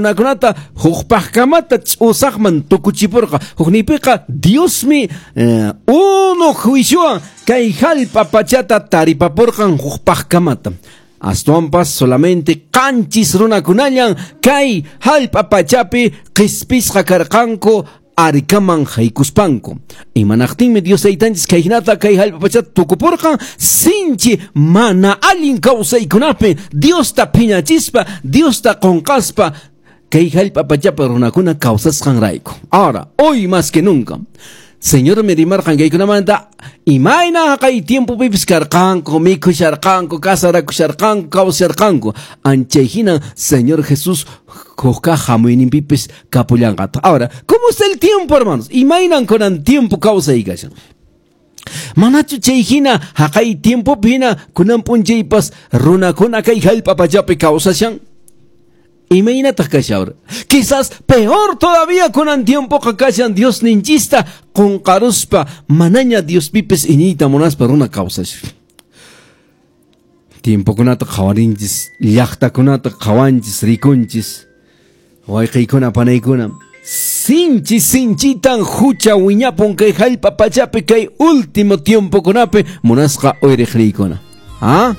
Runakunata hukpaqkamata ch'usaqman tukuchipurqa. Hukniypiqa Diosmi unu juiciowan kay hallp'a pachata taripapurqan hukpaqkamata. Astawanpas solamente 7 runakunallan kay hallp'a pachapi qhispisqa karqanku arkaman haykuspanku. Imanaqtinmi Dios Taytanchis kay hinata kay hallp'a pachata tukupurqan? Sinchi mana allin kawsaykunapi Diosta phiñachispa, Diosta qunqaspa kay hallp'a pachapi runakuna kawsasqanrayku. Ahora, hoy más que nunca, Señormi rimarqan kaykunamanta, imayna haqay tiempopipis karqanku, mikhusharqanku, casarakusharqanku, kawsarqanku. Anchay hina Señor Jesús hukqa hamuyninpipis kapullanqataq. Ahora, ¿cómo está el tiempo, hermanos? Imaynan kunan tiempo kawsay kashan? Manachu chay hina haqay tiempopi hina kunan p'unchaypas runakuna kay hallp'a pachapi kawsashan? Imaynataq kashan ahora? Quizás peor todavía kunan tiempoqa kashan Dios ninchista qunqaruspa manaña Diospipis iñiyta munaspa runa kawsashan. Tiempokunata qhawarinchis, llaqtakunata qhawanchis, rikunchis, wayqiykuna panaykuna. Sinchi sinchitan hucha wiñapun kay hallp'a pachapi kay último tiempokunapi munasqa uyriqriykuna. ¿Ah?